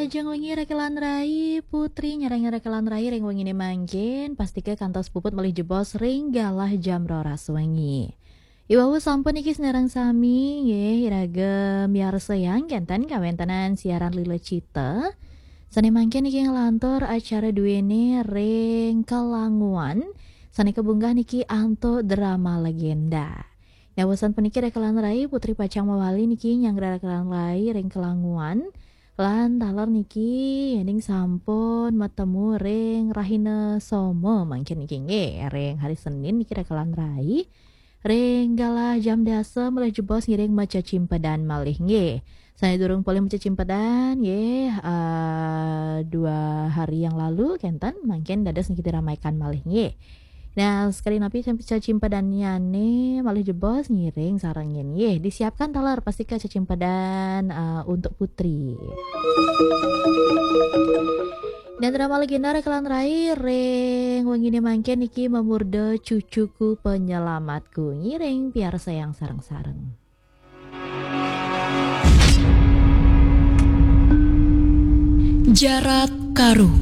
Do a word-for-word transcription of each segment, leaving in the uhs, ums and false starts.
Jang wengi rekelan rai, Putri nyarang rekelan rai ring wengine mangkin, pastika kantos puput malih jebos ring galah jam roras wengi. Iwau sampun niki sinareng sami, nggih, iraga miarsayang kenten kawentenan siaran Lila Cita. Sane mangkin niki nglantur acara duene ring Kelanguan, sane kabunggah niki antuk drama legenda. Nyawasan puniki rekelan rai, Putri pacang mawali niki nyanggra rekelan rai ring Kelanguan. Lan taler niki yening sampun matemu ring rahina Soma mangkin niki nggih, ring hari Senin niki rekelan rai. Ring galah jam dasa malih jebos ngiring macecimpedan malih nggih. Sane durung polih macecimpedan nggih, eh, dua hari yang lalu kenten mangkin dados niki diramaikan malih nggih. Nah, sekali napi cem-, cecimpedannyane malih jebos ngiring sareng nggih. Disiapkan taler pastika cecimpedan, eh, untuk Putri. Dan drama legenda rekelan rai ring wengine mangkin niki mamurda Cucuku Penyelamatku, ngiring piarsayang sareng-sareng. Jarat Karu.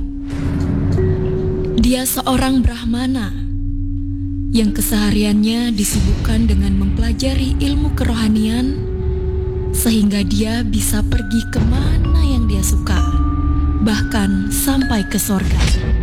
Dia seorang Brahmana yang kesehariannya disibukkan dengan mempelajari ilmu kerohanian, sehingga dia bisa pergi kemana yang dia suka, bahkan sampai ke sorga.